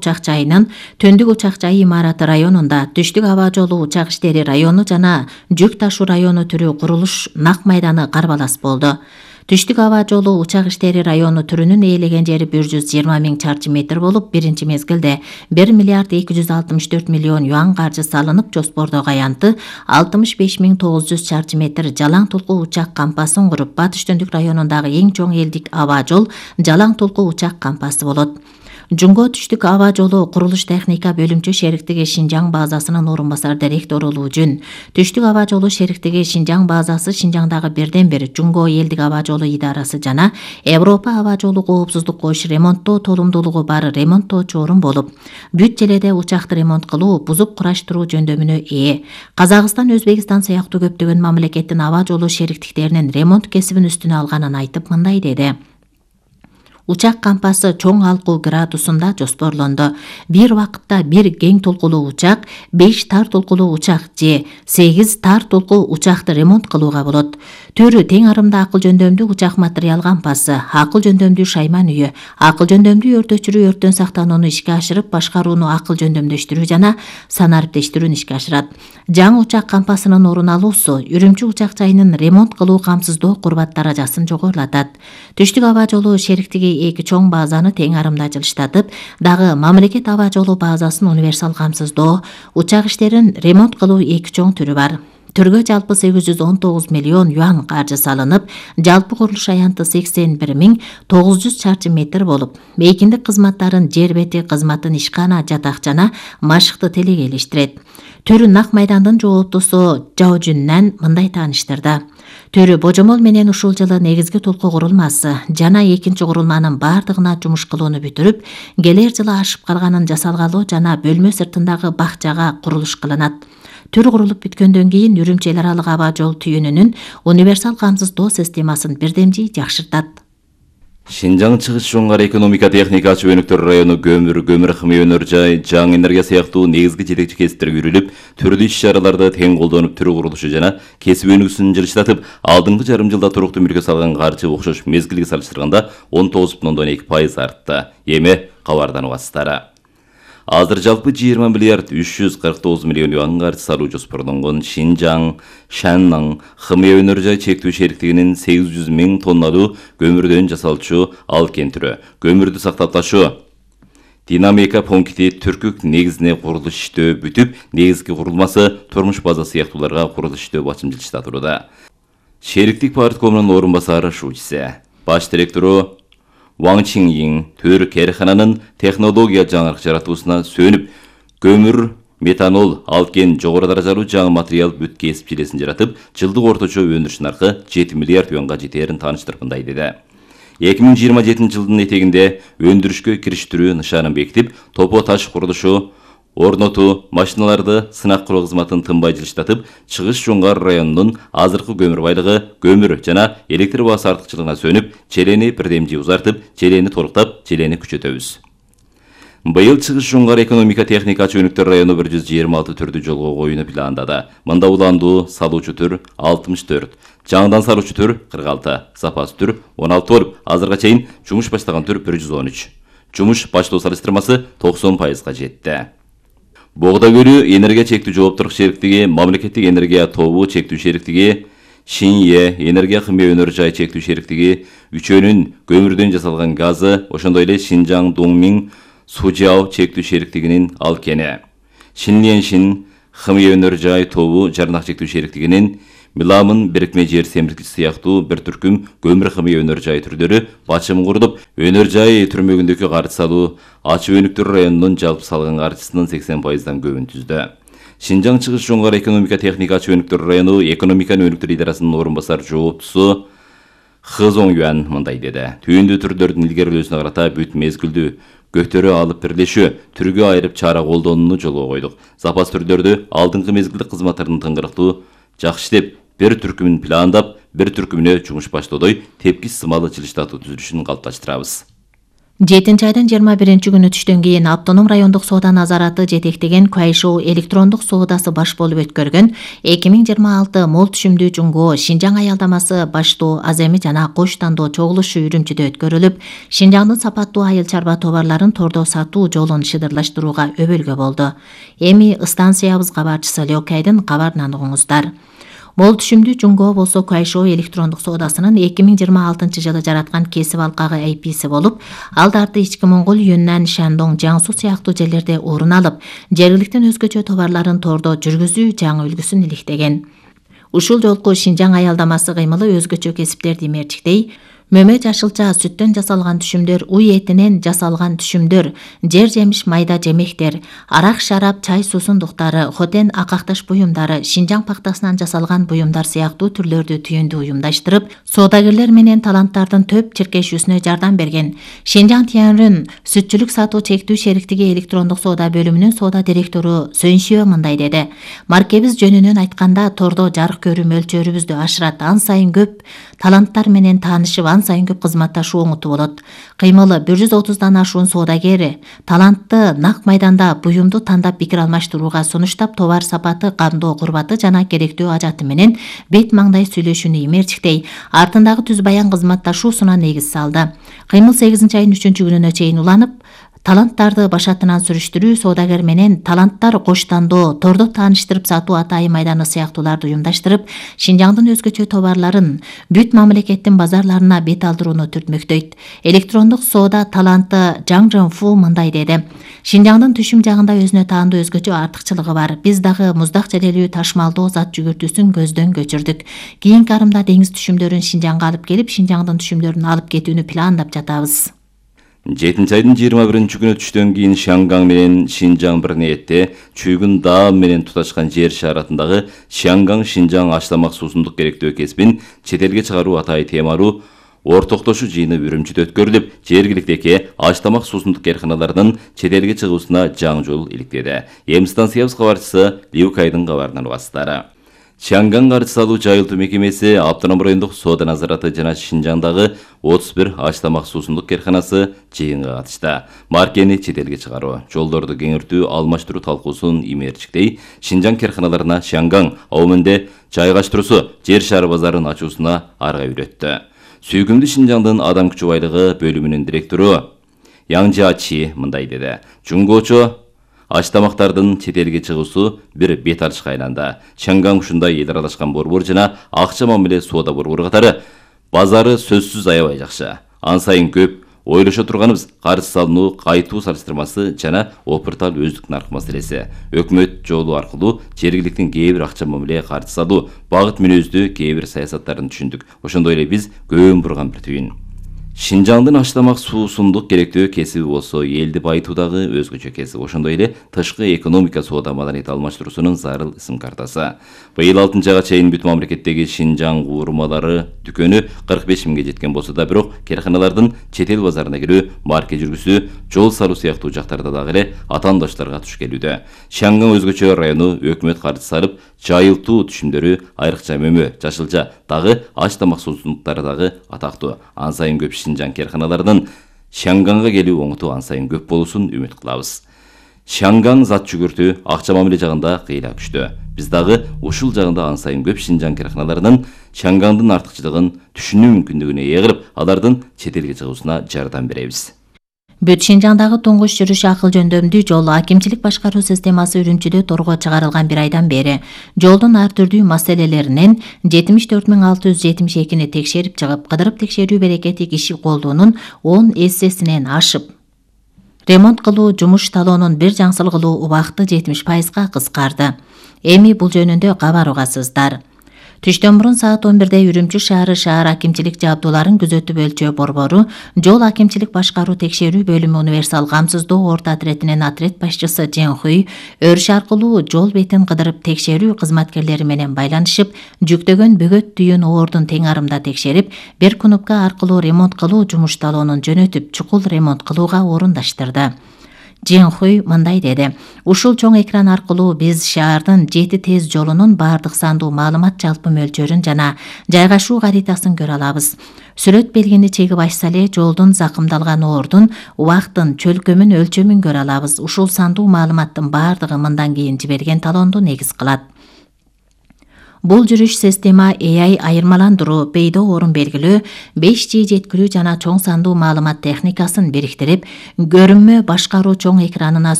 учак жайынын Төндүк учак жайы имараты районунда Түштүк аба жолу учак иштери району жана жүк ташуу району түрү курулуш нак майданы карбалас болду. Түштүк аба жолу учак иштери району түрүнүн ээлеген жери 120 000 чарчы метр болуп, биринчи мезгилде 1 миллиард 264 миллион юан каржы салынып, жоспордогу аянты 65 900 чарчы метр жалаң толку учак кампасын куруп, Батыш Төндүк районундагы эң чоң элдик аба жол жалаң толку учак кампасы болот. Жунго Түштүк аба жолу курулуш техника бөлүмчө шериктиги Шинжаң базасынын орун басар директору Улуужун. Түштүк аба жолу шериктиги Шинжаң базасы Шинжаңдагы бирден бир Жунго элдик аба жолу идарасы жана Европа аба жолу коопсуздук коюш ремонттоо толумдуулугу бар ремонттоочу орун болуп, бүт желеде учакты ремонт кылуу, бузуп кураштыруу жөндөмүнө ээ. Казакстан, Өзбекстан сыяктуу көптөгөн мамлекеттин аба жолу шериктиктеринин ремонт кесибин үстүнө алганын айтып мындай деди. Учак кампасы чоң алкуу градусунда жоспорлонду. Бир вакытта бир кең толкулуу учак, 5 тар толкулуу учак же 8 тар толкуу учакты ремонт кылууга болот. Төрү тең арымда акыл жөндөмдүү учак материал кампасы, акыл жөндөмдүү шайман үйү, акыл жөндөмдүү өртөчүрүү өрттөн сактанууну ишке ашырып, башкарууну акыл жөндөмдөштүрүү жана санариптештирүүнү ишке ашырат. Жаңы учак кампасынын орун алуусу Үрүмчү учак жайынын ремонт кылуу камсыздоо курбат даражасын жогорулатат. Түштүк аба жолу шериктиги эки чоң базаны тең арымда жылыштатып, дагы мамлекет аба жолу базасын универсал камсыздоо учак иштерин ремонт кылуу эки чоң түрү бар. Түргө жалпы 819 миллион юан каржы салынып, жалпы курулуш аянты 81 900 чарчы метр болуп, мейкиндик кызматтарын жер бети кызматын ишкана, жатак жана машыкты телегейлештирет. Төрү нак майдандын жооптусу Жаужүннан мындай тааныштырды. Төрү божомол менен ушул жылы негизги толку курулмасы жана экинчи курулманын бардыгына жумуш кылууну бүтүрүп, келер жылы ашып калганын жасалгалоо жана бөлмө сыртындагы бакчага курулуш кылынат. Төр курулуп бүткөндөн кийин Үрүмчү эл аралык аба жол түйүнүнүн универсал камсыздоо системасын бирдемжи жакшыртат. Шинжаң чыгыш жоңгар экономика техника чөйнөктөр району көмүр химия өнөр жай, жаңы энергия сыяктуу негизги жетекчи кесиптерге үйрүлүп, түрлүү иш-чараларда тең колдонуп түрү курулушу жана кесип өнүгүүсүн жылыштатып, алдыңкы жарым жылда туруктуу мөлкө салган каржы окшош мезгилге салыштырганда 19,2% артты. Эми кабардан угасыздар. Азыр жалпы 20 миллиард 349 миллион юан каржы салуу жоспорлонгон Шинжаң Шанның химия өнөр жай чектүү шериктигинин 800 000 тонналуу көмүрдөн жасалчу алкен түрү көмүрдү сактап ташуу динамика пункти түркүк негизине курулуш иштөө бүтүп, негизги курулмасы турмуш база сыяктууларга курулуш иштөө бачым жылыштатууда. Шериктик парткомунун орун басары Шучсе, баш директору Ваң Чинйин төр керхананын технология жаңырык жаратуусуна сөнүп, көмүр, метанол, алкен жогору даражалуу жаңы материал бүт кесип желесин жаратып, жылдык орточо өндүрүш наркы 7 миллиард юанга жетерин тааныштырып мындай деди. 2027 жылдын этегинде өндүрүшкө кириштирүү нышанын бекитип, топо таш курулушу орнотуу, машиналарды сынак куруу кызматын тынбай жылыштатып, Чыгыш жоңгар районунун азыркы көмүр байлыгы, көмүр жана электр баасы артыкчылыгына сөнүп, желени бирдемжи узартып, желени толуктап, желени күчөтөбүз. Быйыл Чыгыш жоңгар экономика техника чөйнөктөр району 126 түрдүү жолго коюуну пландады. Мында уландуу салуучу түр 64, жаңыдан салуучу түр 46, запас түр 16 болуп, азырга чейин жумуш баштаган түр 113. Жумуш баштоо салыштырмасы 90%га жетти. Богда көлү энергия чектүү жооптуулук шериктиги, мамлекеттик энергия тобу чектүү шериктиги, Шинье энергия химия өнөр жай чектүү шериктиги, үчөөнүн көмүрдөн жасалган газы, ошондой эле Шинжаң Доңмиң Сужао чектүү шериктигинин алкени, Шинленшин химия өнөр жай тобу жарнак чектүү шериктигинин Миламын бирикме жер семирткич сыяктуу бир түркүм көмүр химия өнөр жай түрдөрү бачым курулуп, өнөр жай түрмөгүндөгү каржы салуу Ачы Өнүктөр районунун жалпы салган каржысынын 80%дан көбүн түздү. Шинжаң Чыгыш жоңгар экономика техника Ачы Өнүктөр району экономиканы өнүктүрүү идарасынын орун басар жооптусу Хызоң Юан мындай деди. Түйүндүү түрлөрдүн илгерилөөсүнө карата бүт мезгилдүү көктөрү алып бирлешүү, түргө айырып чара колдонууну жолго койдук. Запас түрлөрдү алдыңкы мезгилдик кызматтардын тыңгырыктуу жакшы иштеп, бир түркүмүн пландап, бир түркүмүнө жумуш баштоодой тепкич сымалы жылыштатуу түзүлүшүн калыпташтырабыз. 7 айдын 21 күнү түштөн кийин Автоном райондук соода назараты жетектеген Куайшоу электрондук соодасы баш болуп өткөргөн 2026 мол түшүмдүү жуңго Шинжаң аялдамасы баштуу аземи жана кош тандоо чогулушу Үрүмчүдө өткөрүлүп, Шинжаңдын сапаттуу айыл чарба товарларын тордо сатуу жолун шыдырлаштырууга өбөлгө болду. Эми станциябыз кабарчысы Лёкайдын кабарынан угуңуздар. Мол түшүмдүү жуңго болсо Куайшоу электрондук соодасынын 2026 жылы жараткан кесип алкагы AP'си болуп, алдарты Ички Моңгол Юннан, Шандong, Жаңсу сыяктуу жерлерде орун алып, жергиликтин өзгөчө товарларын тордо жүргүзүү жаңы үлгүсүн иликтеген. Ушул жолку Шинжаң аялдамасы кыймылы өзгөчө кесиптерди мерчиктей, мөмө жашылча сүттөн жасалган түшүмдөр, уй этинен жасалган түшүмдөр, жер жемиш майда жемектер, арак шарап, чай суусундуктары, хотен акакташ буюмдары, Шинжаң пактасынан жасалган буюмдар сыяктуу түрлөрдү түйүндү уюмдаштырып, соодагерлер менен таланттардын төп чиркешүүсүнө жардам берген. Шинжаң Тянрын сүтчүлүк сатуу чектүү шериктиги электрондук соода бөлүмүнүн соода директору Сөншиө мындай деди: Маркебиз жөнүнөн айтканда, тордо жарык көрүү мөлчөрүбүздү ашырат, ан сайын көп таланттар менен таанышып, ан сайын көп кызматташуу оңутуу болот. Кыймылы 130дан ашуун соодагер талантты нак майданда буюмду тандап пикир алмаштырууга, сунуштап товар сапаты, кандоо курбаты жана керектүү ажаты менен бет маңдай сүйлөшүүнү имерчиктей, артындагы түз баян кызматташуусуна негиз салды. Кыймыл 8 айдын 3-күнүнө чейин уланып, таланттарды башатынан сүрүштүрүү, соодагер менен таланттар коштандоо, тордо тааныштырып сатуу атайын майданы сыяктууларды уюмдаштырып, Шинжаңдын өзгөчө товарларын бүт мамлекеттин базарларына бет алдырууну түртмөктөйт. Электрондук соода таланты Жаң Жонфу мындай деди: Шинжаңдын түшүм жагында өзүнө таандуу өзгөчө артыкчылыгы бар. Биз дагы муздак желелүү ташмалдоо зат жүгүртүүсүн көздөн кечирдик. Кийинки арымда деңиз түшүмдөрүн Шинжаңга алып келип, Шинжаңдын түшүмдөрүн алып кетүүнү пландап жатабыз. 7 айдын 21 күнү түштөн кийин Шанган менен Шинжаң бир ниетте Чүйгүн Даам менен туташкан жер шаратындагы Шанган Шинжаң аштамак суусундук керектөө кесибин чет элге чыгаруу атайын темалуу ортоктошуу жыйыны Үрүмчүдө өткөрүлүп, жергиликтеги аштамак суусундук карканаларынын чет элге чыгуусуна жаңы жол иликтеди. Эми станциябыз кабарчысы Лиукайдын кабарынан угасыздар. Шанган каржы салуу жайылтуу мекемеси Автоном райондук соода назараты жана Шинжаңдагы 31 аштамак суусундук карканасы жыйынга катышты. Маркени чет элге чыгаруу, жолдорду кеңиртүү, алмаштыруу талкуусун имерчиктей, Шинжаң карканаларына Шанган аумунде жайгаштыруусу жер шары базарын ачуусуна арга үйрөттү. Сүйкүмдүү Шинжаңдын адам күчү байлыгы бөлүмүнүн директору Яңжачи мындай деди: Жуңгочо аштамактардын чет элге чыгуусу бир бет ачышка айланды. Шанган ушундай эл аралашкан борбор жана акча мамиле соода борбору катары базары сөзсүз аябай жакшы. Ан сайын көп ойлошо турганыбыз каржы салынуу, кайтуу салыштырмасы жана опыртал өздүк нарк маселеси. Өкмөт жолу аркылуу жергиликтин кээ бир акча мамиле каржы салуу, багыт мүнөздүү кээ бир саясаттарын түшүндүк. Ошондой эле биз көөн бурган бир түйүн. Шинжаңдын аштамак суусундук керектөө кесиби болсо элди байытуудагы өзгөчө кесип. Ошондой эле тышкы экономика соода маданият алмаштыруусунун зарыл ысым картасы. Быйыл 6-айга чейин бүт мамлекеттеги Шинжаң куурмалары дүкөнү 45 миңге жеткен болсо да, бирок карканалардын чет эл базарына кирүү, марке жүргүзүү, жол салуу сыяктуу жактарда дагы эле атаандаштарга туш келүүдө. Шанган өзгөчө району өкмөт каржы салып, жайылтуу түшүмдөрү, айрыкча мөмө, жашылча, дагы аштамак суусундуктары дагы атактуу. Ан сайын көп Шинжаң карканаларынын Шанганга келүү оңоту ан сайын көп болуусун үмүт кылабыз. Шанган зат жүгүртүү, акча мамиле жагында кыйла күчтүү. Биз дагы ушул жагында ан сайын көп Шинжаң карканаларынын Шангандын артыкчылыгын түшүнүү мүмкүндүгүнө ээ кылып, алардын чет элге чыгуусуна жардам беребиз. Бүт Шинжаңдагы туңгуш жүрүш акыл жөндөмдүү жол акимчилик башкаруу системасы Үрүмчүдө торго чыгарылган бир айдан бери жолдун ар түрдүү маселелеринен 74.672 текшерип чыгып, кыдырып текшерүү берекети киши колдуунун 10 эссесинен ашып, ремонт кылуу жумуш талоонун бир жаңсыл кылуу убакыты 70%га кыскарды. Эми бул жөнүндө кабар угасыздар. Түштөн мурун саат 11-де Үрүмчү шаар акимчилик жабдууларын күзөтүп өлчөө борбору, жол акимчилик башкаруу текшерүү бөлүмү универсал камсыздоо орто отретинин отрет башчысы Женхуй өрүш аркылуу жол бетин кыдырып текшерүү кызматкерлери менен байланышып, жүктөгөн бөгөт түйүн оордун тең арымда текшерип, бир кнопка аркылуу ремонт кылуу жумуш талоонун жөнөтүп, чукул ремонт кылууга орундаштырды. Жинхуй мындай деди: ушул чоң экран аркылуу биз шаардын 7 тез жолунун бардык сандуу маалымат жалпы мөлчөрүн жана жайгашуу каритасын көрө алабыз. Сүрөт белгини чегип ачса эле жолдун закымдалган ордун, убактын, чөлкөмүн, өлчөмүн көрө алабыз. Ушул сандуу маалыматтын бардыгы мындан кийин жиберген талоонду негиз кылат. Бул жүрүш система AI айырмаландыруу, пейдо орун белгилөө, 5G жеткирүү жана чоң сандуу маалымат техникасын бириктирип, көрүнмө башкаруу чоң экранына